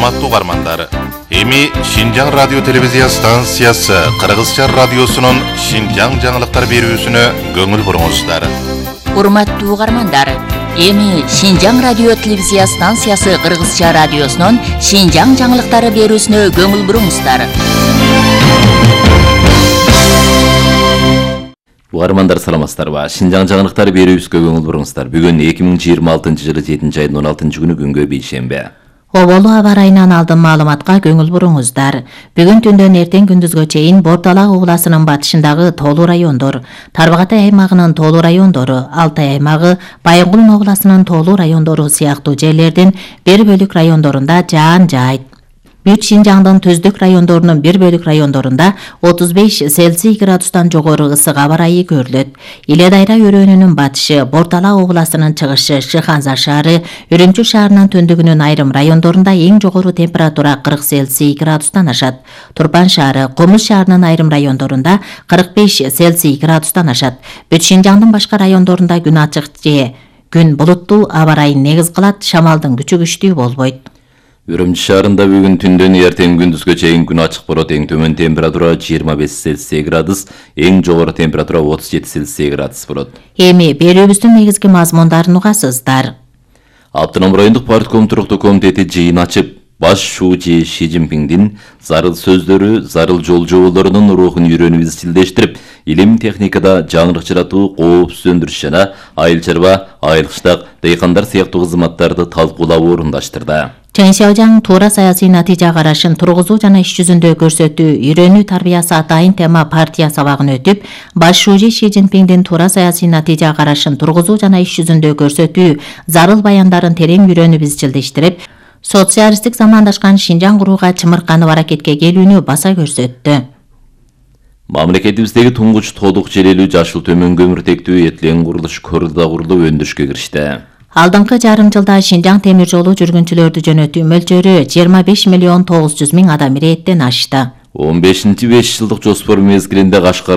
Урматтуу угармандар, эми Шинжаң радио телевизия станциясы Кыргызча радиосунун Шинжаң жаңылыктар берүүсүнө көңүл буруңуздар. Урматтуу угармандар, эми Шинжаң радио телевизия станциясы Кыргызча радиосунун Шинжаң жаңылыктары берүүсүнө көңүл буруңуздар. Угармандар саламатсыздарбы? Шинжаң жаңылыктары берүүбүзгө көңүл буруңуздар. Бүгүн 2026-жылы 7 айдын 16-күнү күнгө бейшембе. Оболу аба ырайынан алдын маалыматка көңүл буруңуздар. Бүгүн түндөн эртең күндүзгө чейин Бордалак ууласынын батышындагы тоолуу райондор, Тарбагатай аймагынын тоолуу райондору, Алтай аймагы, Байынгул областынын тоолуу райондору сыяктуу жерлердин бир бөлүк райондорунда жаан жаайт. Бүт Шинжаңдын түздүк райондорунун бир бөлүк райондорунда 35 Цельсий градустан жогору ысык аба ырайы көрүлөт. Иле Дайра өрөөнүнүн батышы, Бордалак областынын чыгышы, Шыханза шаары, Үрүмчү шаарынын түндүгүнүн айрым райондорунда эң жогору температура 40 Цельсий градустан ашат. Турпан шаары, Комуз шаарынын айрым райондорунда 45 Цельсий градустан ашат. Бүт Шинжаңдын башка райондорунда күн ачык же күн булуттуу аба ырайын негиз кылат, шамалдын күчү күчтүү болбойт. Үрүмчү шаарында бүгүн түндөн эртең күндүзгө чейин күн ачык болот. Эң төмөн температура 25 Цельсий градус, эң жогору температура 37 Цельсий градус болот. Эми берүүбүздүн негизги мазмундарын угасыздар. Автоном райондук партком туруктуу комитети жыйын ачып, баш шүүчү Ши Цзиньпиндин зарыл сөздөрү, зарыл жол жоболорунун рухун үйрөнүп изчилдештирип, илим техникада жаңырык жаратуу, коопсуз өндүрүш жана айыл чарба, айыл кыштак, дыйкандар сыяктуу кызматтарды талкуулап орундаштырды. Чын Шаожаң туура саясий натыйжа карашын тургузуу жана иш жүзүндө көрсөтүү, үйрөнүү тарбиясы атайын тема партия сабагын өтүп, баш шүүчү Ши Цзиньпиндин туура саясий натыйжа карашын тургузуу жана иш жүзүндө көрсөтүү, зарыл баяндарын терең үйрөнүп изчилдештирип, социалисттик замандашкан Шинжаң курууга чымырканып аракетке келүүнү баса көрсөттү. Мамлекетибиздеги туңгуч Толук Желелүү жашыл төмөн көмүртектүү этилен курулуш коридору курулуп өндүрүшкө киришти. Алдыңкы жарым жылда Шинжаң темир жолу жүргүнчүлөрдү жөнөтүү мөлчөрү 25 миллион 900 миң адам ирээттен ашты. 15-5 жылдык жоспор мезгилинде Кашкар